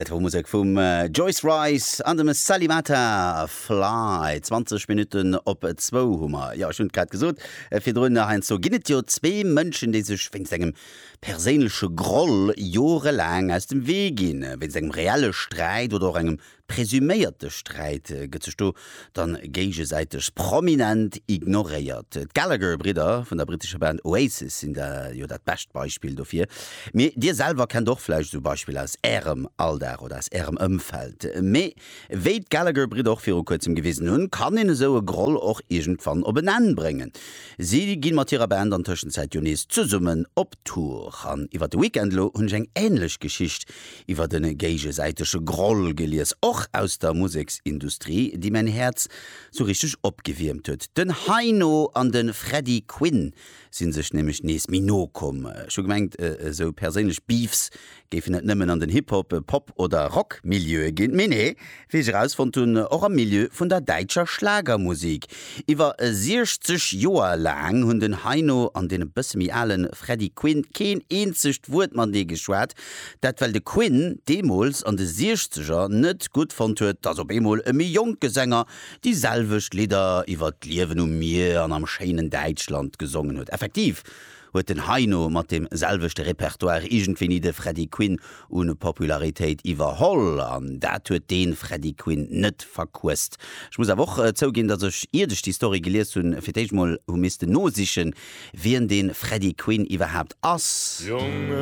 Et wor Musek vum Joyce Wrice an dem Salimata Fly. 20 Minutten op zwou hu mer. Jo, ech hunn et grad gesot virdrun, heiansdo ginn et jo zwee Mënschen, déi sech wéinst engem perséinleche Groll jorelaang aus dem Wee ginn. Wéinst engem reelle Sträit oder och engem Presuméierte Sträit gëtt sech do dann géigesäiteg prominent ignoréiert. D'Gallagher-Bridder vun der brittescher Band Oasis sinn da jo dat bescht Beispill dofir. Mee dir selwer kennt och vläicht esou Beispiller aus ärem Alldag oder aus ärem Ëmfeld. Mee wéi d'Gallagher-Bridder och viru kuerzem gewisen hunn, kann een esou e Groll och iergendwann op en Enn bréngen. Si ginn mat hirer Band an Tëschenzäit jo nees zesummen op Tour. An iwwer de Weekend elo hunn ech eng änlech Geschicht iwwer e géigesäitege Groll gelies, och aus der Museksindustrie, déi mäin Häerz sou richteg opgewiermt huet. Den Heino an de Freddy Quinn si sech nämlech nees méi no komm. Ech hu gemengt, esou perséinlech Beefs géifen et nëmmen an den Hip-Hop-, Pop oder Rock-Milieue ginn. Mee nee, wéi ech erausfonnt hunn, och am Milieu vun der däitscher Schlagermusik. Iwwer 60 Joer laang hunn den Heino an deen e bësse méi ale Freddy Quinn keen eenzegt Wuert matenee geschwat. Dat well de Quinn deemools an de Siechzeger net gutt fonnt huet, datt op eemol e méi jonke Sänger déi selwecht Lidder iwwer d'Liewen um Mier an am schéinen Däitschland gesongen huet. Effektiv huet den Heino mat deem selwechte Repertoire iergendwéini de Freddy Quinn u Popularitéit iwwerholl an dat huet dee Freddy Quinn net verquësst. Ech muss awer och zouginn, datt ech, iert ech déi Story gelies hunn, fir d'éischt mol hu missten nosichen, wien dee Freddy Quinn iwwerhaapt ass.